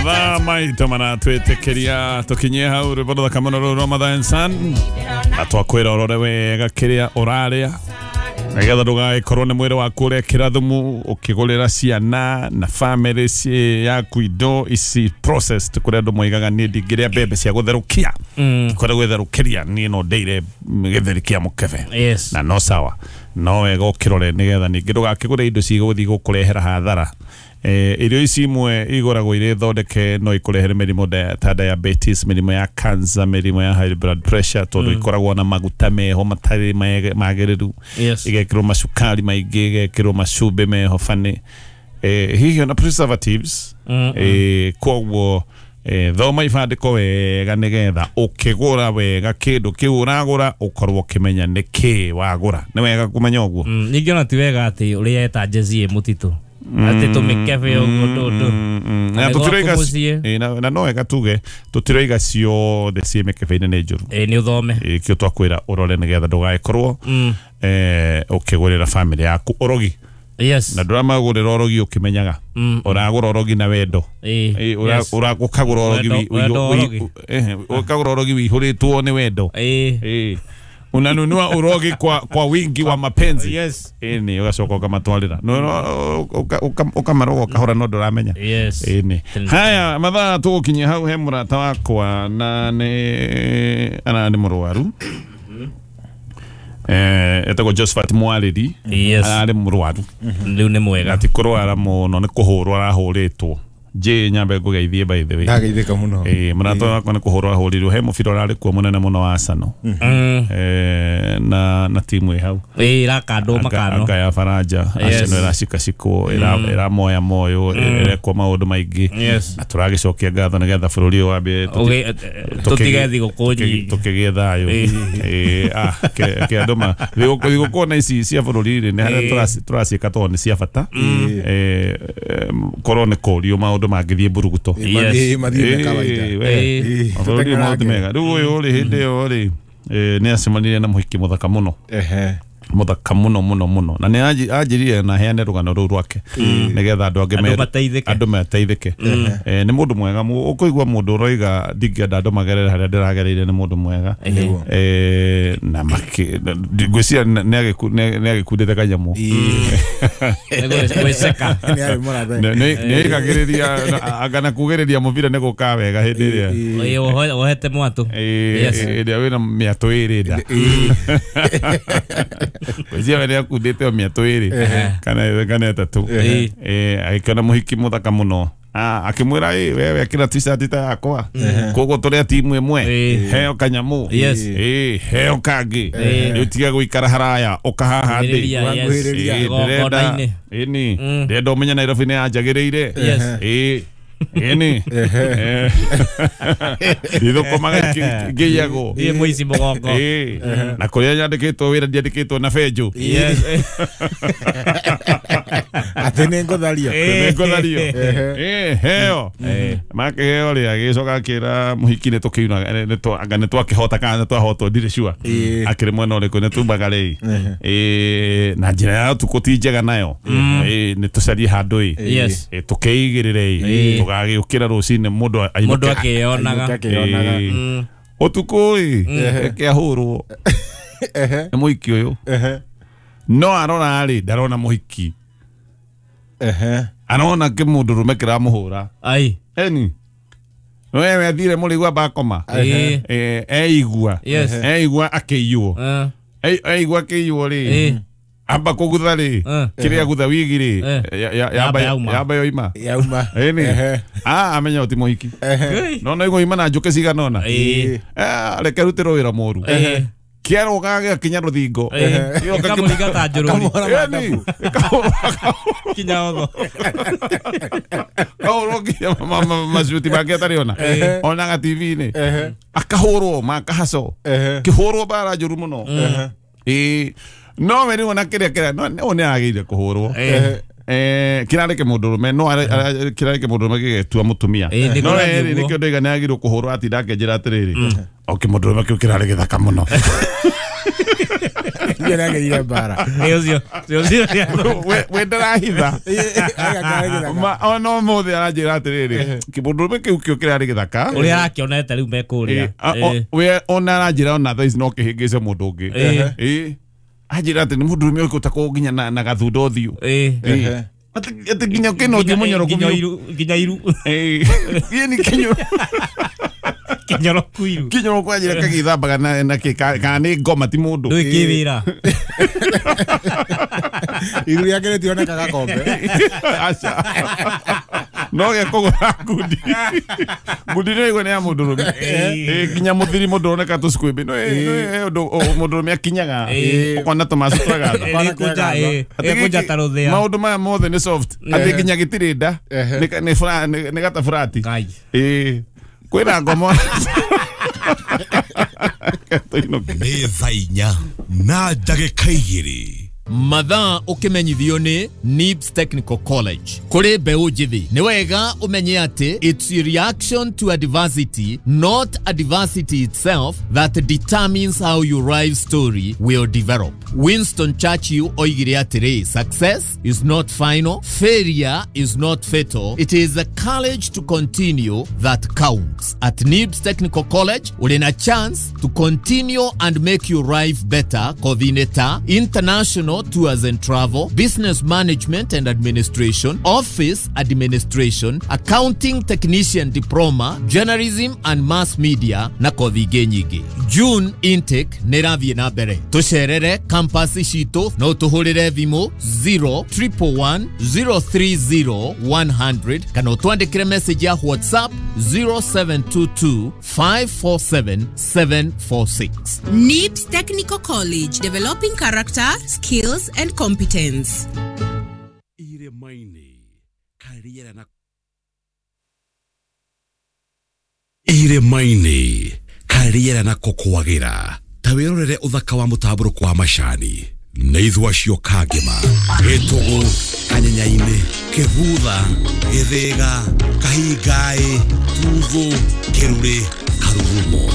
Mathaa maitũ maratwĩtĩkĩria tũkinyie hau rwĩmbo rũthaka mũno rũu rwa Mother and Son, na twakwĩra ũrore wega kĩrĩa ũrarĩa nĩgetha ndũgagĩkorwo nĩ mwĩrĩ waku ũrekĩra thumu ũkĩgũrĩra ciana na family yaku indo ici processed kũrĩa andũ moigaga niĩ ndingĩrĩa mbembe cia gũtherũkia, kũrĩa gwĩtherũkĩria niĩ no ndĩire gĩtheri kĩa mũkebe. Yes. Na no sawa, no wega ũkĩrore nĩgetha ningĩ ndũgakĩgũre indo cigũthiĩ gũkũrehera hathara. Irio ici imwe igũragwo irĩ thondeke no ikũrehere mĩrimũ ta diabetes, mĩrimũ ya cancer, mĩrimũ ya high blood pressure, tondũ ikoragwo na maguta meho matarĩ magĩrĩru. Yes. Igekĩrwo macukari maingĩ, igekĩrwo macumbĩ meho bani, hihi ona preservatives. Koguo thoma ibandĩko wega nĩgetha ũkĩgũra wega kĩndũ kĩu ũragũra ũkorwo ũkĩmenya nĩ kĩ wagũra. Nĩ wega kũmenya ũguo. Ningĩ ona ti wega atĩ ũrĩa eta jezi ĩ mũtitũ atĩ tũmĩkebe ũguo ndũndũ. Na Nĩ tũtiroiga gwaku mũciĩ. Na no wega tuge tũtiroiga ciothe ciĩ mĩkebe-inĩ nĩ njũru. Nĩ ũthome. Kĩo twakwĩra ũrore nĩgetha ndũgagĩkorwo ũkĩgũrĩra family yaku ũrogi. Yes. Na ndũramagũrĩra ũrogi ũkĩmenyaga. Ũragũra ũrogi na wendo. Yes. Ũkagũra ũrogi Wendo ũrogi. Ũkagũra ũrogi wĩihũrĩtwo nĩ wendo. Unanunua urogi kwa wingi wa mapenzi. Yes. Ni ugacoka ukamatwarira. No ukamaroga ukahora no nduramenya. Yes. Ni. Haya mathaa tũgũkinyia hau he mũrata wakwa na nĩ ana nĩ mũrwaru. Etagwo Josephat Mwarĩri. Yes. Ararĩ mũrwaru. Rĩu nĩ mwega. Ti kũrwara mũno nĩ kũhũrwo arahũrĩtwo. J nyambe ngũgeithie by the way. Ndageithĩka mũno. Mũrata wakwa nĩ kũhũrwo ahũrirwo he mũbira ũrarĩ kuo mũnene mũno wa Arsenal. Na timu ĩ hau. Ĩrakandwo makano. Anga ya Faranja. Yes. Arsenal ĩracikacikwo, ĩramoya moyo, ĩrekwo maũndũ maingĩ. Yes. Na tũragĩcokia ngatho nĩgetha bũrũri ũyũ wambie tũtige thigũkũ nyingĩ. tũkĩgĩe thayũ. Ke andũ ma thigũkũ na ici cia bũrũri rĩ, nĩ harĩa tũraciĩka tondũ nĩ cia bata. Korwo nĩ kũrio maũndũ mangĩthiĩ mburuguto. Yes. Mathiĩ na kawaida. Mabũrũri maũndũ mega. Rĩu ũyũ rĩ, hĩndĩ ĩyo rĩ, nĩ acemanirie na mũhiki mũthaka mũno. Mũthaka mũno mũno mũno. Na nĩ anjĩrire na heane rũgano rũu rwake nĩgetha andũ angĩ Andũ mateithĩke. Andũ mateithĩke. Nĩ mũndũ mwega. Ũkũigua mũndũ ũroiga ndingĩenda andũ magerere harĩa ndĩragereire, nĩ mũndũ mwega. Na ngwĩciria nĩ agĩkundĩte kanyamũ. Gwĩceka. Nĩ arĩ mũrathe. Nĩ aigagĩrĩria, anga na kugĩrĩria mũbira nĩ gũka wega hĩndĩ ĩrĩa. Wohete mwatũ. Yes. Ĩrĩa wĩna mĩatũ ĩrĩ nda. Gwĩciria we nĩakundĩte o mĩatũ ĩrĩ kana ĩtatũ. Agĩkĩona mũhiki mũthaka mũno. Akĩmwĩra, wewe ĩkĩra t-shirt ta yakwa. Koguo tũrĩ a timu ĩmwe. Heo kanyamũ. Yes. Heo kangĩ. Rĩu tiga gũikara haraya, ũka haha ndĩ. Kuhĩrĩria, yes. Kuhĩrĩria. Igongona-inĩ. Ĩni. Ndĩrenda ũmenye Nairobi nĩ yanjagĩrĩire. Yes. Ĩni. Ndithũkũmaga ngĩiyagwo. Thiĩ mũici mũgongo. Na kũrĩa nyandĩkĩtwo wĩra ndiandĩkĩtwo na benjũ. Yes. Atĩ nĩ ngũthario. Nĩ ngũthario. Heo. Makĩheo rĩ, agĩcoka akĩra mũhiki nĩ tũkĩuna, anga nĩ twakĩhota kana nĩ twahotwo, ndirĩ sure. Akĩrĩ mwena ũrĩkũ, nĩ tumbaga rĩ. Na njĩra ya ũtukũ ti njega nayo. Nĩ tũcarie handũ ĩ. Yes. Tũkeigĩrĩre ĩ. Tũgagĩũkĩra rũcinĩ mũndũ ainũke. Mũndũ akĩyonaga. Ainũke akĩyonaga. Ũtukũ ĩ, reke ahũrwo. Nĩ mũhiki ũyũ. No arora rĩ, ndarona mũhiki. Arona kĩmũndũ rũme kĩramũhũra. Ai. Eni. Wewe athire mũrĩigua bakoma. Eigua. Yes. Eigua akĩiywo. Eigua akĩiywo rĩ. Amba kũgutha rĩ. Kĩrĩa gutha wigi rĩ. Yamba yoima. Yauma. Eni. Amenya ũti mũhiki. No no igũima na njũkĩ cigana ũna. Reke rutĩrwo wĩra mũru. Kĩarũga gĩgakinya rũthingo. Gĩkamũringa ta njũrũri. Kinya otho. Kahũrwo nginya macuti make atarĩ ona. Onaga TV-inĩ. Akahũrwo makahaco. Kĩhũrwo mbara njũru mũno. No we rĩu ona kĩrĩa kĩrĩa no nĩ agĩrĩire kũhũrwo. Kĩrarĩ kĩmũndũ rũme, no kĩrarĩ kĩmũndũ rũme gĩgetua mũtumia. No rĩ, nĩkĩo ndoiga nĩ agĩrĩirwo kũhũrwo atinda akĩnjĩra atĩrĩrĩ, o kĩmũndũ rũme kĩu kĩrarĩ gĩthaka mũno. Iyo nagĩrire mbara. Ũcio ũcio. We ndarahitha. Ona ũmũthĩ aranjĩra atĩrĩrĩ, kĩmũndũrũme kĩu kĩo kĩrarĩ gĩthaka. Ũrĩa arakĩonete rĩu mekũrĩa. We ona aranjĩra ona thaa ici no kĩhĩngĩce mũndũ ũngĩ. Anjĩra atĩ nĩ mũndũrũme ũyũ ũtakoo nginya na gathundo ũthiũ. Atĩ nginya kĩna ũthiũ mũnyoroku biũ. Nginya iru. Ĩĩ nĩ kinyoroku iru. Kinyoroku anjĩra kagĩthambaga na kĩ kana nĩ ngoma ti mũndũ. Ndũĩ kĩwĩra. Iru rĩake rĩtionekaga kombe. Aca. No gĩa kũgũra ngundi. Ngundi nĩ ĩigua nĩ ya mũndũrũme. Nginya mũthiri mũndũ ũroneka tũcukwĩmbĩ. No ũndũ mũndũrũme akinyaga. Ũkona tũmacu twagatha. Ĩkũnja ta rũthĩa. Maũndũ maya mothe nĩ soft. Atĩ nginya gĩtirĩ nda. Nĩ gataburati. Kwĩna ngomo. Nĩ thaa inya na ndagĩka igĩrĩ. Mathaa ũkĩmenyithio nĩ NIBS Technical College. Kũrĩ mbeũ njĩthĩ nĩ wega ũmenye atĩ it's a reaction to adversity, not adversity itself, that determines how your life story will develop. Winston Churchill oigire atĩrĩ, success is not final, failure is not fatal, it is the courage to continue that counts. At NIBS Technical College ũrĩ na chance to continue and make your life better. Coordinator, international tours and travel, business management and administration, office administration, accounting technician diploma, journalism and mass media na kothi ingĩ nyingĩ. June intake nĩ ĩrathiĩ na mbere. Tũcerere campus citũ no tũhũrĩre thimũ 0111 030 100 kana ũtwandĩkĩre message ya WhatsApp 0722 547 746. NIBS Technical College, developing character, skills and competence. Irĩma-inĩ karĩera nako kwagĩra ta wĩrorere ũthaka wa mũtambũrũko wa macani nĩ ithua acio Kangema, Gĩtũgũ, Kanyenyainĩ, Kĩbutha, Gĩthĩga, Kahingaĩ, Tuthũ, Kĩrurĩ, Karurumo.